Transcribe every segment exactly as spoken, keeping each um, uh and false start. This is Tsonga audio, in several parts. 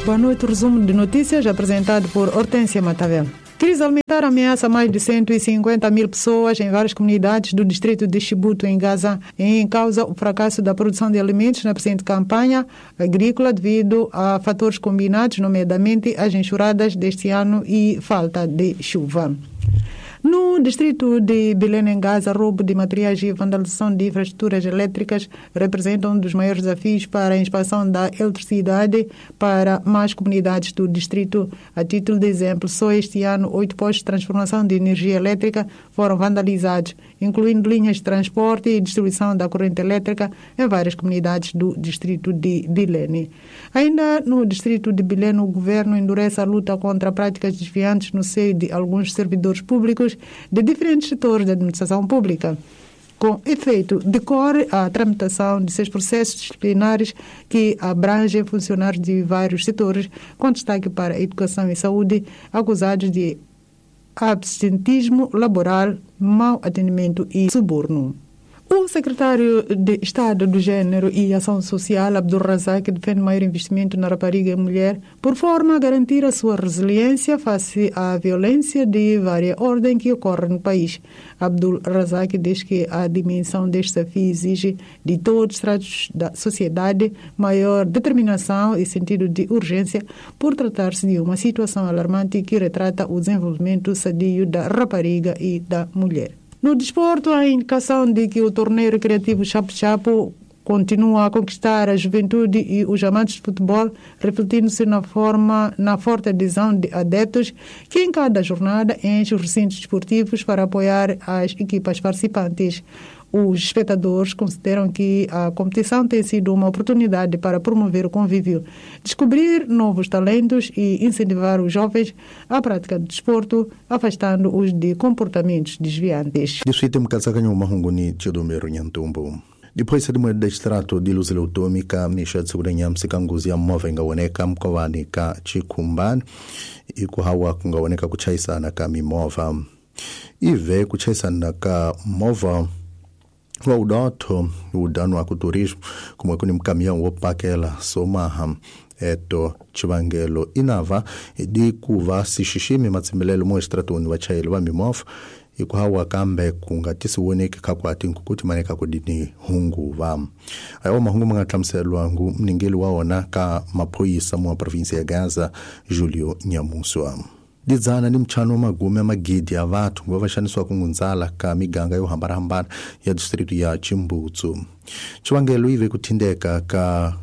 Boa noite. Resumo de notícias apresentado por Hortência Matavel. Crise alimentar ameaça mais de cento e cinquenta mil pessoas em várias comunidades do distrito de Chibuto, em Gaza, em causa o fracasso da produção de alimentos na presente campanha agrícola devido a fatores combinados, nomeadamente as enxurradas deste ano e falta de chuva. No distrito de Bilene, em Gaza, roubo de materiais e vandalização de infraestruturas elétricas representam um dos maiores desafios para a expansão da eletricidade para mais comunidades do distrito. A título de exemplo, só este ano, oito postos de transformação de energia elétrica foram vandalizados, incluindo linhas de transporte e distribuição da corrente elétrica em várias comunidades do distrito de Bilene. Ainda no distrito de Bilene, o governo endurece a luta contra práticas desviantes no seio de alguns servidores públicos de diferentes setores da administração pública. Com efeito, decorre a tramitação de seis processos disciplinares que abrangem funcionários de vários setores, com destaque para a educação e saúde, acusados de absentismo laboral, mau atendimento e suborno. O secretário de Estado do Gênero e Ação Social, Abdul Razak, defende maior investimento na rapariga e mulher, por forma a garantir a sua resiliência face à violência de vária ordem que ocorre no país. Abdul Razak diz que a dimensão deste desafio exige de todos os estratos da sociedade maior determinação e sentido de urgência, por tratar-se de uma situação alarmante que retrata o desenvolvimento sadio da rapariga e da mulher. No desporto, a indicação de que o torneio recreativo Chapo Chapo continua a conquistar a juventude e os amantes de futebol, refletindo-se na forma, na forte adesão de adeptos que em cada jornada enchem os recintos desportivos para apoiar as equipas participantes. Os espectadores consideram que a competição tem sido uma oportunidade para promover o convívio, descobrir novos talentos e incentivar os jovens à prática do desporto, afastando-os de comportamentos desviantes. Depois de moeda extrato de luz eleutômica, misha tsukurenyamsi kanguzi ya mova ingaoneka mkovani ka Chikumban, ikuhawa kungaoneka kuchaisana ka mimova. Ive kuchaisana ka mova wa udotho udano wa kuturismo kumwe kuni mkamião wopakela somaha eto chivangelo inava di kuva sixiximi matsimbelelo mo extratoni vachayeli va mimova ikuhawa kambe kungatisiwoneki khakwati nkukuti maneka kudini hunguva ayo mahungu manga hlamuselwa ngu mningeli wa wona ka maphoyisa mo provinsi ya Gaza Julio Nyamuswa. Didzana ni mchano wa magume magidi ya vathu ngo va xanisiwa ku ngundzala ka miganga yo hambanahambana ya district ya Chimbutsu. Chivangelo ive ku thindeka ka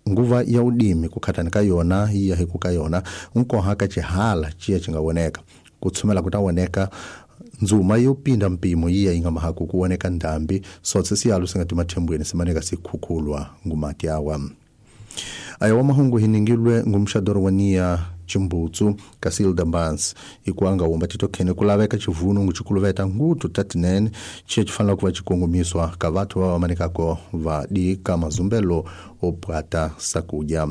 nguva ya udimi ku khatani ka yona yi ya hi ku ka yona nkoha ka xihala xiya xi nga voneka ku tshumela ku ta voneka ndzuma yo pinda mpimo yi ya yi nga mahaku ku voneka ndhambi sotse siyalo swi nga timathembweni simaneka sikhukhulwa ngumati yawa. Ayo wa mahungu hiningilwe ngumxadoro wa niya Chimbutsu Casilda Mbans ikuanga womba titokhene kulaveka chivunu nguchikuluveta ngutu tatinene chiye chifanela kuva chikongomiswa ka vathu va vamanekako va di ka mazumbelo opwata sakudya.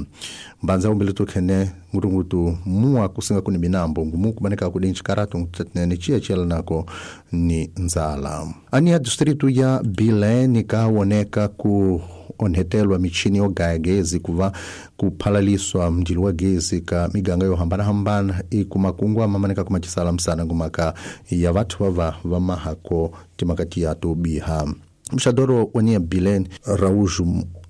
Mbanza umbile tokhene ngutungutu mua kusinga kuni minambo ngumu kumaneka kudi nchikaratu ngutu tatinene chiye chiyelanako ni nzala. Ani ya distritu ya Bilene kawoneka ku onhetelwa michini yo gaya gezi kuva kuphalaliswa mndilo wa gezi ka miganga yo hambanahambana ikumakungwa mamaneka kumachisala msana ngumaka ya vathu vava va mahako timakati ya tobiha. Mxadoro wa niya Bilene Araújo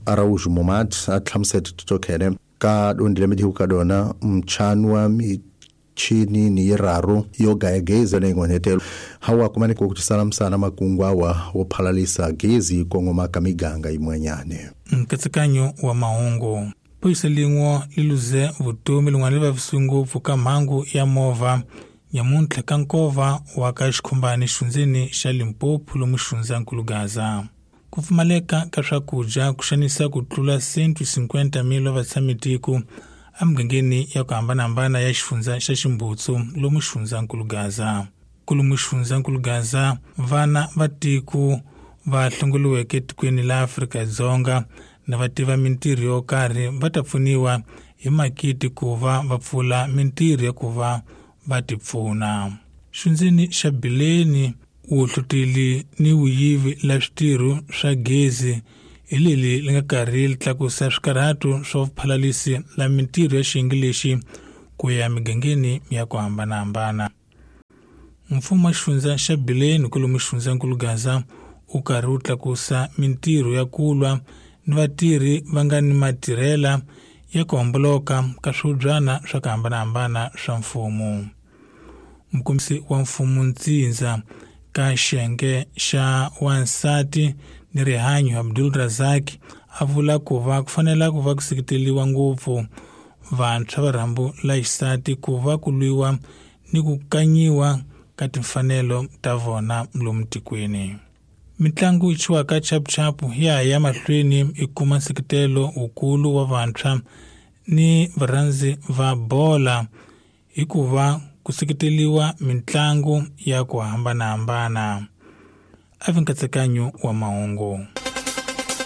Araújo Momad a hlamusete titokhene ka dondile midihu ka dona mchanu wa michini ni yiraru yo gaya gezi leyi nga hawa kumaneka kuchisala msana makungwa wa wophalalisa gezi kongoma ka miganga yimwenyane. Nkatsakanyo wa mahungu phoyisa lin'we li luze vutomi lin'wana li vavisiwe ngopfu ka mhangu ya movha nyamuntlha ka nkova wa ka Xikhumbani xifundzeni xa Limpopo lomu xifundzankulu Gaza. Ku pfumaleka ka swakudya ku xanisa ku tlula cento e cinquenta mil wa vatshamitiko emugangeni ya ku hambanahambana ya xifundza xa Ximbutsu lomu xifundzankulu Gaza. Kulumu xifundzankulu Gaza vana va tiko va hlongoliweke etikweni la Afrika-Dzonga na va tiva mintirho yo karhi va ta pfuniwa hi makiti ku va va pfula mintirho ya ku va va tipfuna. Xifundzeni xa Bileni, wuhluteli ni vuyivi la switirho swa gezi Hi leli li nga karhi li tlakusa swikarhato swa vuphalalisi la mintirho ya xiyenge lexi ku ya migangeni ya ku hambanahambana. Mfumo wa xifundza xa Bileni kwalomu xifundzankulu Gaza wu karhi wu tlakusa mintirho ya ku lwa ni vatirhi va nga ni matirhela ya ku homboloka ka swihubyana swa ku hambanahambana swa mfumo. Mukombisi wa mfumo ntsindza ka xiyenge xa wansati ni rihanyo Abdul Razak a vula ku va ku fanela ku va ku seketeriwa ngopfu vantshwa va rhambu la xisati ku va ku lwiwa ni ku kanyiwa ka timfanelo ta vona lomu tikweni. Mitlangu yi chiwaka chapuchapu ya ya mahlweni i kuma nseketelo wukulu wa vantshwa ni varhandzi va bola hikuva ku seketeriwa mitlangu ya ku hambanahambana. A vi nkatsakanyo wa mahungu.